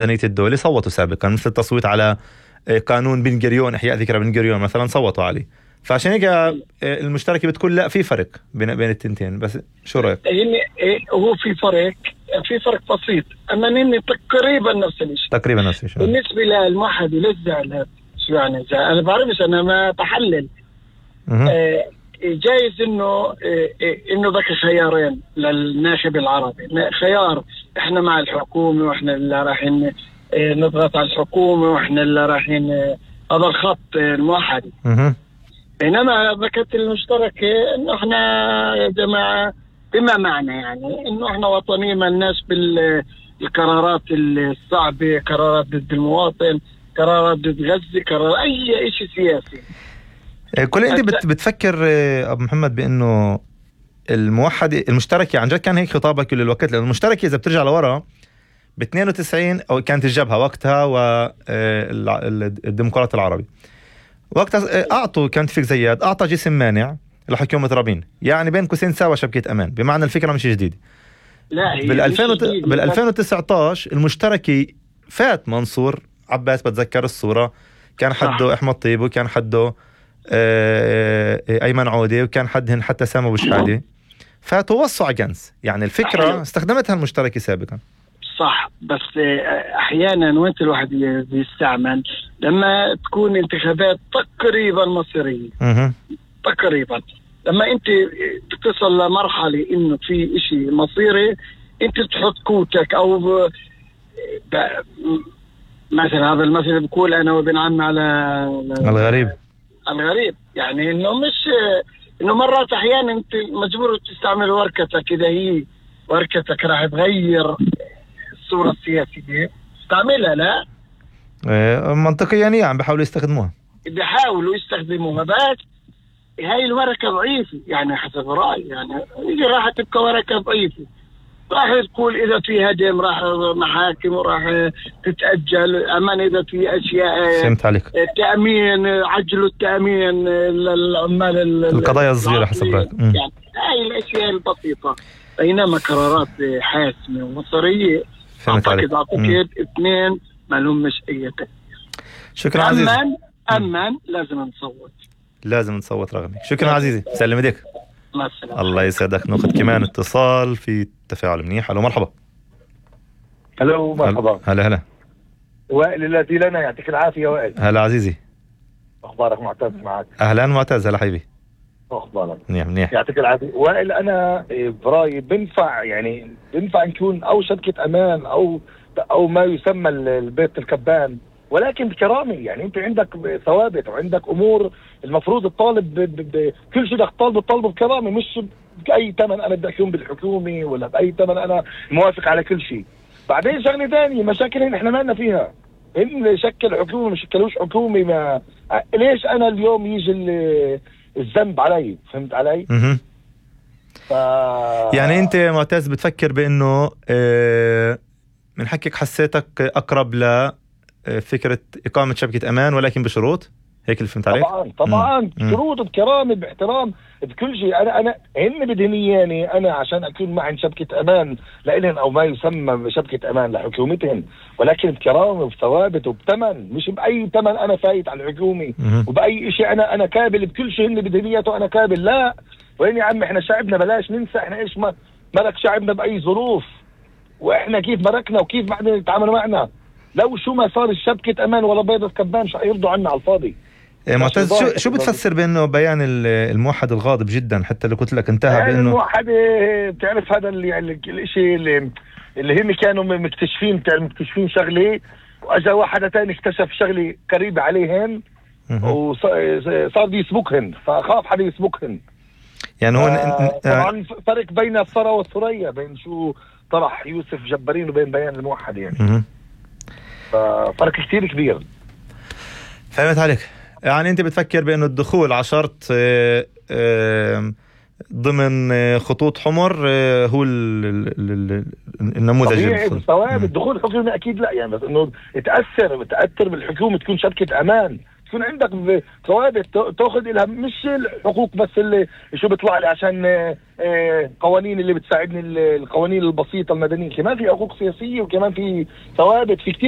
الدولة صوتوا سابقا، مثل التصويت على قانون بن غوريون، إحياء ذكرى بن غوريون مثلا، صوتوا عليه. فعشان هيك المشتركة بتقول لا، في فرق بين التنتين. بس شو رأيك؟ هو في فرق بسيط، أما إني تقريبا نفس الشيء. بالنسبة للموحد للزعل، شو يعني زعل؟ أنا بعرفش، أنا ما بحلل. جايز إنه ذاك خيارين للناخب العربي، خيار إحنا مع الحكومة وإحنا اللي رايحين نضغط على الحكومة وإحنا اللي رايحين هذا الخط الموحدي. بينما ذكرت المشتركة إنه إحنا يا جماعة بما معنى يعني إنه إحنا وطنيين، ما الناس بالقرارات الصعبة، قرارات ضد المواطن، قرارات ضد غزة، قرار أي شيء سياسي. كل أنت بتفكر أبو محمد بأنه المشتركة عن جد كان هيك خطابك كل الوقت؟ لأن المشتركة إذا بترجع لورا ب 92 أو كانت الجبهة وقتها والديمقراط العربي وقتها أعطوا، كان توفيق زياد أعطى جسم مانع لحكومة رابين، يعني بين قوسين ساوى شبكة أمان، بمعنى الفكرة مش جديدة. بال 2019 المشتركة فات منصور عباس، بتذكر الصورة، كان حده أحمد طيب، وكان حده أيمن عودة، وكان حدهن حتى سامو أبو شحادة، فتوسع جنس. يعني الفكرة استخدمتها المشتركة سابقا، صح. بس أحيانا وانت الواحد بيستعمل لما تكون انتخابات تقريبا مصيرية، تقريبا لما انت بتصل لمرحلة انه في اشي مصيري، انت بتحط كوتك او مثلا هذا المثل بقول انا وابن عمي على الغريب، يعني انه مش انه مرات احيانا انت مجبور تستعمل وركتك، اذا هي وركتك راح تغير الصورة السياسية استعملها. لا منطقيا يعني عم بيحاولوا يستخدموها، بس هاي الورقة ضعيفة يعني حسب رأيي، يعني راح تبقى ورقة ضعيفة، راح تقول إذا في هدم راح محاكم وراح تتأجل أمان، إذا في أشياء فهمت عليك، التأمين، عجلوا التأمين للعمال، القضايا الصغيرة حسب رأيك. يعني هاي الأشياء البسيطة، بينما قرارات حاسمة ومصيرية أعتقد اثنين ما لهمش أي تأثير. شكرا عزيزي. أمان لازم نصوت رغمك. شكرا عزيزي، سلم ايديك. الله يسعدك. ناخذ كمان اتصال في تفاعل منيح. الو مرحبا. الو مرحبا. هلا وائل الذي لنا، يعطيك العافية وائل. هلا عزيزي، اخبارك؟ معتز معك. اهلا معتز، هلا حبيبي. اخبارك؟ منيح. يعطيك العافية وائل. انا برايي بنفع نكون او شبكة امان او ما يسمى البيت الكبان، ولكن بكرامة. يعني انت عندك ثوابت وعندك امور المفروض الطالب كل شيء بدك تطالبه بكرامة، مش بأي ثمن انا بدي اكون بالحكومة ولا بأي ثمن انا موافق على كل شيء. بعدين شغلة ثانية، مشاكل احنا ما لنا فيها، ان شكل حكومة مش شكلوش حكومة، ما ليش انا اليوم يجي الذنب علي؟ فهمت علي؟ يعني انت معتز بتفكر بانه من حكيك حسيتك اقرب لفكرة اقامة شبكة امان، ولكن بشروط، هيك اللي فهمت عليك؟ طبعا بشروط، بكرامة، باحترام، بكل شيء. انا هن بدهنياني انا عشان اكون معن شبكة امان لإلهن او ما يسمى شبكة امان لحكومتهن، ولكن بكرامة وبثوابت وبثمن، مش بأي ثمن انا فايت على الحكومة وبأي شيء انا كابل بكل شيء هن بدهنياته انا كابل. لا، وين يا عم، احنا شعبنا بلاش ننسى احنا ايش ملك شعبنا بأي ظروف، واحنا كيف ملكنا وكيف بعدين يتعاملوا معنا. لو شو ما صار الشبكة امان ولا بيضة كبان مش هيرضوا عنا على الفاضي. معتز، شو بتفسر بانه بيان الموحد الغاضب جدا، حتى اللي قلت لك انتهى بانه الموحد، بتعرف هذا الشيء اللي هم كانوا مكتشفين شغله، واجا واحد ثاني اكتشف شغله قريبه عليهن وصار يسبقهن، فخاف حدا يسبقهن. يعني هو طبعا فرق بين الثرى والثريا، بين شو طرح يوسف جبارين وبين بيان الموحد، يعني فرق كثير كبير. فهمت عليك. يعني انت بتفكر بانه الدخول على شرط ضمن خطوط حمر هو النموذج الثوابت. الدخول الحكومة اكيد لا، يعني بس انه تأثر بالحكومة تكون شبكة امان، تكون عندك ثوابت تاخذ لها، مش الحقوق بس اللي شو بيطلع لي عشان قوانين اللي بتساعدني، القوانين البسيطة المدنية. كمان في حقوق سياسية وكمان في ثوابت، في كتير